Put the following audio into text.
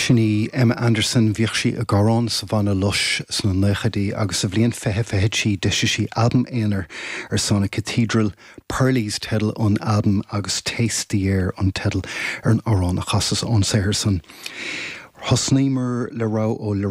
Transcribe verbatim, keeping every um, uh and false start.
Sin í Emma Anderson bhíodh sí ag amhrán sa bhanna Lush sna nóchaidí agus sa bhliain fiche fiche trí d'eisigh sí albam aonair ar Sonic Cathedral, Pearlies teideal an albaim agus Taste the Air an teideal ar an amhrán a chasas ón saothar san. Thosnaíomar le rogha ó le